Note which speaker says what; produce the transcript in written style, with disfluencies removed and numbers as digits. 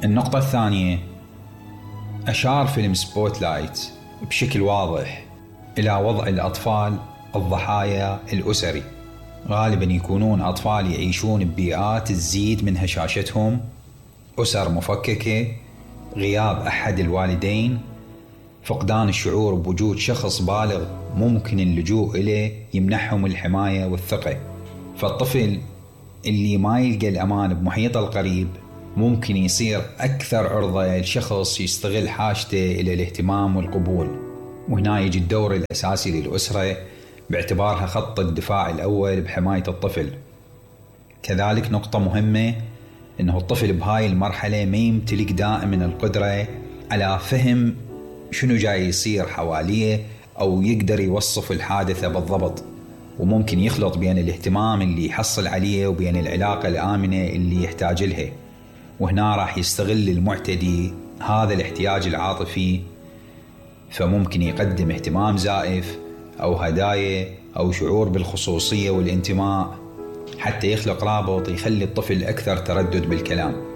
Speaker 1: النقطة الثانية، أشار فيلم سبوت لايت بشكل واضح إلى وضع الأطفال الضحايا الأسري. غالبا يكونون أطفال يعيشون ببيئات تزيد من هشاشتهم، أسر مفككة، غياب أحد الوالدين، فقدان الشعور بوجود شخص بالغ ممكن اللجوء إليه يمنحهم الحماية والثقة. فالطفل اللي ما يلقى الأمان بمحيطه القريب ممكن يصير أكثر عرضة لشخص يستغل حاجته إلى الاهتمام والقبول. وهنا يجي الدور الأساسي للأسرة باعتبارها خط الدفاع الأول بحماية الطفل. كذلك نقطة مهمة إنه الطفل بهاي المرحلة ما يمتلك دائما القدرة على فهم شنو جاي يصير حواليه أو يقدر يوصف الحادثة بالضبط، وممكن يخلط بين الاهتمام اللي يحصل عليه وبين العلاقة الآمنة اللي يحتاج لها. وهنا راح يستغل المعتدي هذا الاحتياج العاطفي، فممكن يقدم اهتمام زائف أو هدايا أو شعور بالخصوصية والانتماء حتى يخلق رابط يخلي الطفل أكثر تردد بالكلام.